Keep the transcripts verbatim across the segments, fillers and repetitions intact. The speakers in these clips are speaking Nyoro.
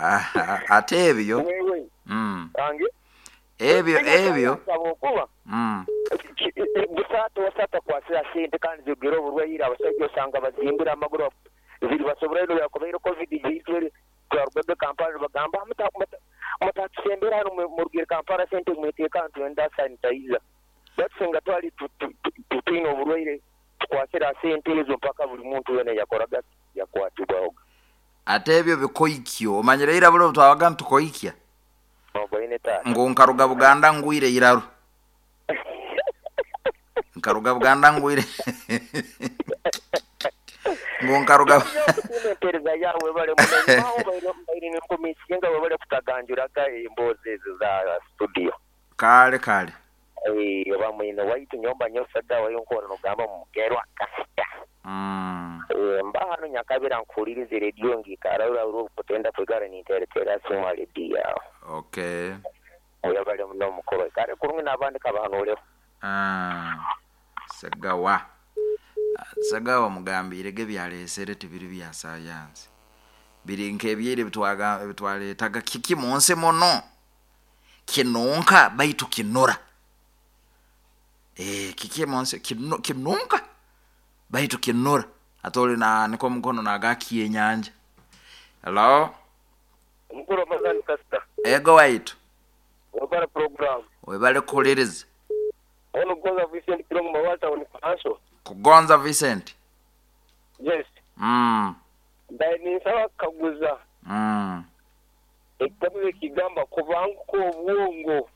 Ah, ate ebyo Wewe mm. ange Ebyo ebyo okuba mm. busaata osata kwasira sente kandi zogera oburwaire abasajja osanga bazimbira amaguru ziri basobora ino yakobaire covid jitwere twarugaga Kampala bagamba mutatusembera hano murugire Kampala sente mwiteeka ntwenda sanitizer batusinga twali tutwine oburwaire tukwasira sente ezo mpaka buli muntu wena yakoraga yakwatibwaho. Ate ebyo bikoikyo omanyire ira bulo twabaga ntukoikya ngo nkaruga Buganda ngwire iraru nkaruga Buganda ngwire ngo nkaruga empereza yawe bale munaho baire nkomisienga webale kutaganjuraga emboozi ezo za studio kale kale eh oba mwine waitu nyomba nyosaga wayo nkora nogamba mugerwa kasita mm. Eh, mba hano nyakabira nkuhuliriza rediyo ngikara ura ura kutenda kwigara ninteretera suma rediyo yawe. Okay. Oya bale muno mukoro kale kurungi n'abandi kabahanureho. Ah, Segawa Segawa mugambirege byalesere tibiri bya sayansi biri nk'ebyere bitwaga bitwaletaga kiki munsi muno kinunka baitu kinura eh kiki munsi kinu, kinunka baitu kinura atoli na niko mukono nagakiye nyanja. Hello. Omukuru amazani kasita. Ego waitu webale program webale kuhuliriza. Ono Kugonza Vincent Kirongo Mawata on Kanso. Kugonza Vincent. Yes. Mm. Ndaye ninsaba kaguza. Mm. Ekitabo ekigamba kubanguka obwongo.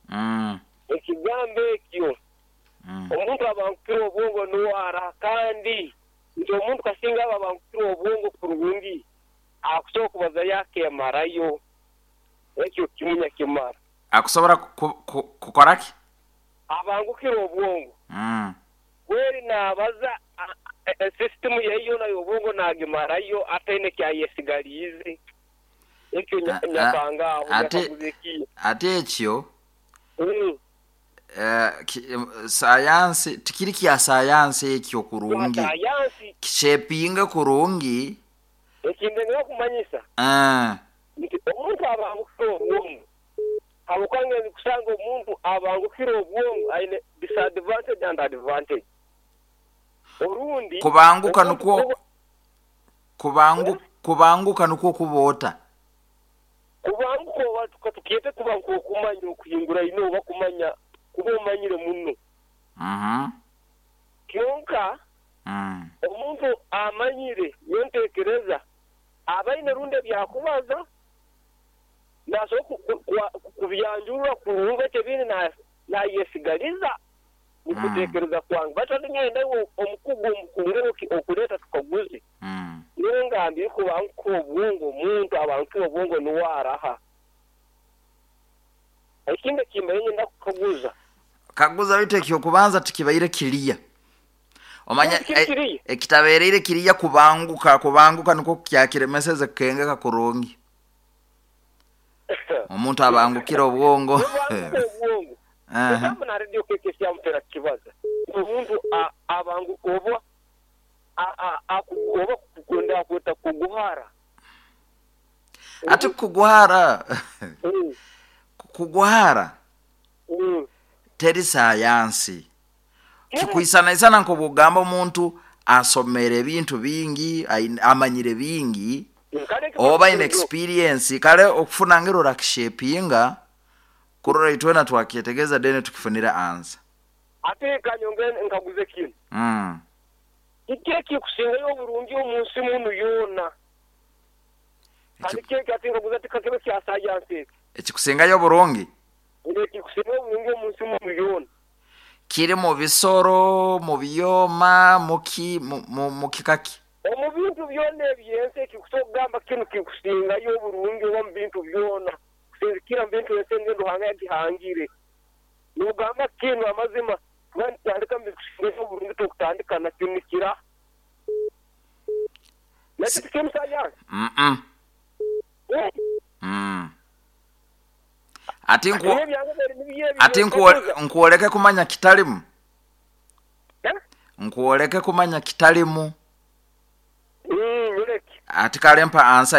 Mm. Ekigambo ekyo. Mm. Omuntu abangukira obwongo nuwara kandi nti omuntu kasinga aba abangukira obwongo kurungi akusobola kubaza yakemarayo ekyo kimunya kimara. Akusobola kukoraki? Abangukira obwongo. Mm. Kweri nabaza system yeyo nayo obwongo nagimarayo ataine kyayesigalize ekyo nyakanga aho ate ate ekyo mm. Eh, sayansi tikiri kya sayansi ekyo kurungi kishepinga kurungi ekindengera kumanyisa ah nti omuntu abangukira obwongo abukange kusanga omuntu abangukira obwongo aine disadvantage and advantage orundi kubanguka nukwo kubangu kubanguka nukwo kubota kubanguka oba tukiyete kubanguka okumanya okuhingura ino oba kumanya kuba omanyire muno. Mhm. Kyonka mm. omuntu amanyire yontekereza abaine runde byakubaza naso kubyanjurura kurunga tebini na nayesigaliza nikutekereza kwange batandingenda omukugu omukungero okuleta tukaguze mm. ningambye kubanguka obwongo omuntu abantu obwongo nuwaraha ekindi kimanye ndakukaguza kaguza bite ekyo kubanza tukibaire kiriya omanya ekitabereire kiriya kubanguka kubanguka niko kyakiremeseze kengeka kurungi omuntu abangukira obwongo aha na radio kekesya mpera kibaza omuntu abanguka oba a oba kukunda kweta kuguhara ati kuguhara kuguhara mm. Teri sayansi kikuisana nkobugamba omuntu asomere ebintu bingi amanyire bingi oba in experience kale okufuna ngero rakishepinga kurora itwena twakyetegeza dene tukifunira ansa ate kanyonge nkaguze kino mm. Kiki kikusingayo oburungi omunsi munu yona kandi kiki ati nkaguza tikakebe kya sayansi ekikusingayo oburungi ekikusingayo oburungi omunsi munu yona kiri mu bisoro mu byoma muki mu kikaki omu bintu byona ebyensi ekikusobola kinu kikusingayo oburungi oba mu bintu byona kusinzikira mu bintu ensi engendo hanga yagihangire nugamba kinu amazima tandika mu bikusingayo oburungi tukutandika nakyo nikira nakyo tikiri sayansi mm mm ati nku ati nkuoleke kumanya kitalimu nkuoleke kumanya kitalimu mm ati kalempa ansa.